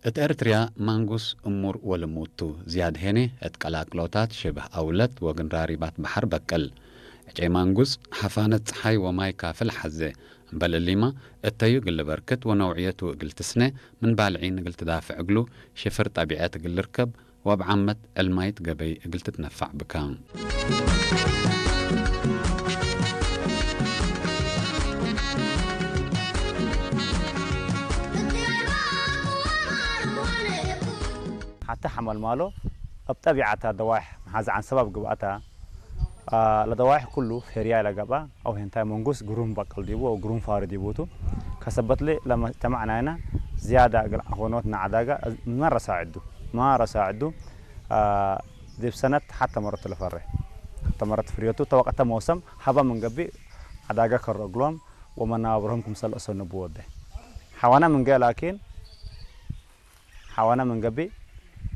እት ኤርትርያ ማንጉስ እሙር ወልሙቱ ዝያድ ሄኔ እት ቀላቅሎታት ሽብህ አውለት ወግንራሪባት በሐር በቅል። ዕጨይ ማንጉስ ሐፋነት ጸሓይ ወማይ ካፍል ሐዜ። እምበል እሊማ እተዩ እግል በርክት ወነውዕየቱ እግል ትስነ ምን ባልዒን እግል ትዳፍዕ እግሉ ሽፍር ጠቢዐት እግል ልርከብ ወእብ ዓመት ዕልማይት ገበይ እግል ትትነፋዕ ብካ። ሓቲ ሓመልማሎ እብ ጠቢዓታ ደዋሕ መሓዚ ዓንሰባ ብግብኣታ፣ አ፣ ለደዋሕ ኩሉ ፌርያ ኢለ ገብኣ፣ አው ሄንታይ መንጉስ ግሩም በቀል ዲቡ፣ አው ግሩም ፋሪ ዲቡቱ። ከሰበትሊ ለመጅተማዕ ናይና ዝያዳ እግል ዐኾኖት ንዓዳጋ መረሳ ዕዱ፣ መረሳ ዕዱ፣ አ፣ ዲብ ሰነት ሓተ መረት ለፈሬ። ሓተ መረት ፍርዮቱ ተወቀተ መውሰም ሀባ ምን ገቢ ዓዳጋ ከረግሎም ወመናብሮም ክምሰል እሰንቡ ወደ። ሓዋና ምን ገ ላኪን ሓዋና ምን ገቢ፣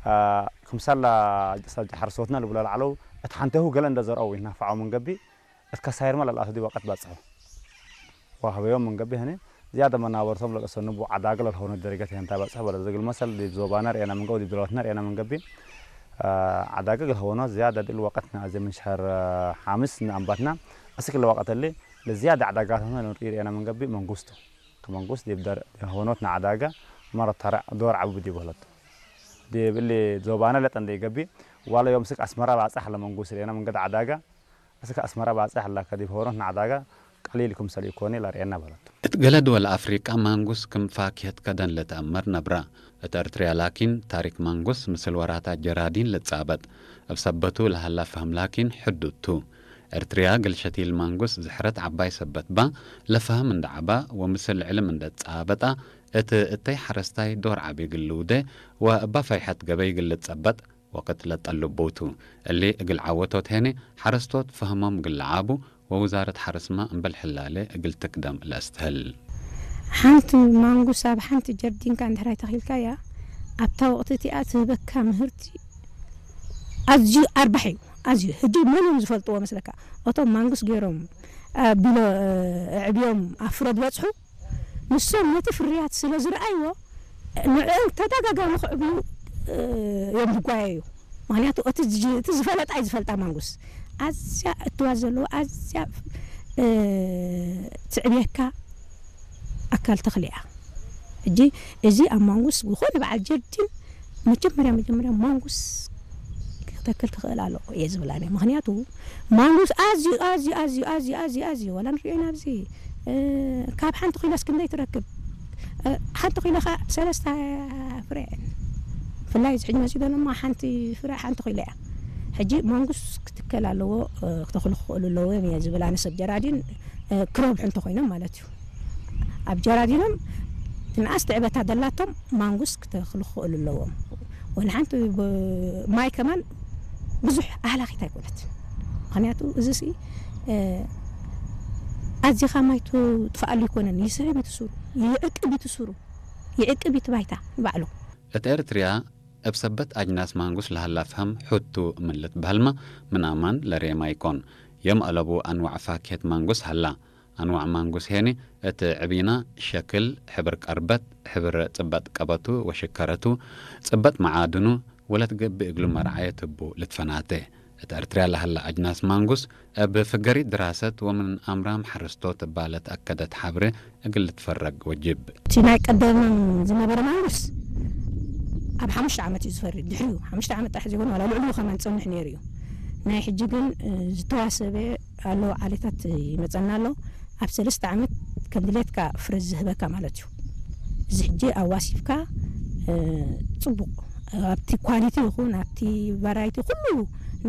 አ፣ ክምሰላ ሰብ ሐርሶትና ልብሎ ለዓለው፣ እት ሓንቴሁ ገለ እንደ ዘርአው ይናፍዓው ምን ገቢ፣ እት ከሳይርማ ለልኣቱ ዲ ወቀት በጽሑ። ዋህበዮም ምን ገቢ ህኒ፣ ዝያደ መናበርቶም ለልእሰንቡ ዓዳገ ለልሆኑ ደረገት ይህንታ በጽሑ በለ። ዝግል መሰል ዲብ ዞባና ርኤና ምን ገቢ፣ ዲብ ዶላትና ርኤና ምን ገቢ፣ አ፣ ዓዳገ ግልሆኖ ዝያደ ድል ወቀትና እዚ ምን ሸህር፣ አ፣ ሓምስ ንኣንባትና፣ እስክ ለወቀት እሊ፣ ለዝያደ ዓዳጋትና ንርኢ ርኤና ምን ገቢ መንጉስቱ። ከመንጉስ ዲብ ደር-፣ ሆኖት ንዓዳጋ መረት ተረዕ ዶር ዓቡ ዲብ ህለቱ። ዲብ እሊ ዞባና ለጠንደ ይገቢ፣ ዋላ ዮም ስክ አስመራ ባጽሕ ለመንጉስ ርኤና ምን ገዲ ዓዳጋ፣ እስክ አስመራ ባጽሕ ላከ ዲብ ሆኖት ንዓዳጋ ቀሊል ክምሰል ይኮኒ ለርኤና በለቱ። እት ገለ ድወል አፍሪቃ ማንጉስ ክም ፋኪሀት ከደን ለተአመር ነብራ። እት ኤርትርያ ላኪን ታሪክ ማንጉስ ምስል ወራታት ጀራዲን ልጻበጥ። እብ ሰበቱ ለሀላ ፈህም ላኪን ሕዱድ ቱ። ኤርትርያ ግልሸቲል ማንጉስ ዝሕረት ዐባይ ሰበት ባ፣ ለፈህም እንደ ዐባ ወምስል ዕልም እንደ ጻበጣ፣ እት እተይ ሐረስታይ ዶር ዐቢ ግልውደ ወእባ ፈይሐት ገበይ ግልጸበጥ ወቅት ለጠልቡቱ። እሊ እግል ዐወቶት ሄኔ ሐረስቶት ፈህሞም ግልዓቡ ወውዛረት ሐረስማ እምበል ሕላለ እግል ትክደም ለእስትህል። ሓንቲ ማንጉስ ኣብ ሓንቲ ጀርዲንካ እንድሕራይ ተኺልካያ፣ ኣብታ ወቕቲ እቲኣ ትህበካ ምህርቲ ኣዝዩ ኣርባሒ እዩ። ኣዝዩ። ሕጂ መን እዮም ዝፈልጥዎ መስለካ? እቶም ማንጉስ ገይሮም፣ አ፣ ቢሎ፣ አ፣ ኣዕብዮም ኣብ ፍረ ዝበጽሑ፣ ንሶም ነቲ ፍርያት ስለ ዝረኣይዎ፣ ንዕኦም ተደጋጋሚ ክዕብዩ፣ እ፣ እዮም ዝጓየዩ። ምኽንያቱ እቲ ዝ-፣ እቲ ዝፈለጣ እዩ ዝፈልጣ ማንጉስ። ኣዝያ እትዋዝ ዘለዎ፣ ኣዝያ፣ እ፣ ትዕብየካ ኣካል ተኽሊ እያ። ሕጂ እዚ ኣብ ማንጉስ ዝኾነ በዓል ጀርዲን መጀመርያ፣ መጀመርያ ማንጉስ ክተክል ትኽእል ኣለዎ እየ ዝብል ኣነ። ምኽንያቱ ማንጉስ ኣዝዩ፣ ኣዝዩ፣ ኣዝዩ፣ ኣዝዩ፣ ኣዝዩ፣ ኣዝዩ፣ ዋላ ንሪኦ ኢና ኣብዚ፣ እ፣ ካብ ሓንቲ ኪሎስ ክንደይ ትረክብ? እ፣ ሓንቲ ኪሎ ኸዓ ሰለስተ ፍረ እየን። ብፍላይ እዚ ሕጂ መፂኡ ዘሎ እሞ ሓንቲ ፍረ ሓንቲ ኪሎ እያ። ሕጂ ማንጉስ ክትከል ኣለዎ፣ እ፣ ክተኽሉ ክኽእሉ ኣለዎም እየ ዝብል ኣነ ሰብ ጀራዲን፣ እ፣ ክረብሑ እንተኾይኖም ማለት እዩ። ኣብ ጀራዲኖም ትንኣስ ትዕበታ ደላቶም ማንጉስ ክተኽሉ ክኽእሉ ኣለዎም። ወላ ሓንቲ ብ-፣ ማይ ከማን ብዙሕ ኣህላኺት ኣይኮነትን። ምኽንያቱ እዚ ሲ፣ እ፣ ኣዚኻ ማይ ትጥፍኣሉ ኣይኮነን። ይስሕብ እዩ እቲ ሱሩ፣ ይዕቅብ እዩ እቲ ሱሩ፣ ይዕቅብ እዩ እቲ ባይታ ባዕሉ። እት ኤርትርያ እብ ሰበት አጅናስ ማንጉስ ለሀላ ፍሀም ሑቱ ምን ልትበሀልመ ምን አማን ለሬማ ይኮን። የም አለቡ አንዋዕ ፋክሄት ማንጉስ ሀላ። አንዋዕ ማንጉስ ሄኒ እት ዕቢና ሸክል፣ ሕብር ቀርበት፣ ሕብር ጽበጥ ቀበቱ ወሽከረቱ፣ ጽበጥ መዓድኑ ወለትገብእ እግሉ መርዓየት እቡ ልትፈናተ። እት ኤርትርያ ለሀላ አጅናስ ማንጉስ እብ ፍገሪት ድራሰት ወምን አምራም ሐረስቶት እባ ለትአከደት ሐብሬ እግል ልትፈረግ ወጅብ። እቲ ናይ ቀደም ዝነበረ ማንጉስ ኣብ ሓሙሽተ ዓመት እዩ ዝፈሪ። ድሕሪኡ ሓሙሽተ ዓመት ጥራሕ ዘይኮነ ዋላ ልዕሊኡ ከማን ዝጸንሕ ነይሩ እዩ። ናይ ሕጂ ግን፣ እ፣ ዝተዋሰበ ኣሎ ዓሌታት ይመጸና ኣሎ። ኣብ ሰለስተ ዓመት ከም ድሌትካ ፍረ ዝህበካ ማለት እዩ። እዚ ሕጂ ኣዋሲብካ፣ እ፣ ጽቡቕ ኣብቲ ኳሊቲ ይኹን ኣብቲ ቫራይቲ ኩሉ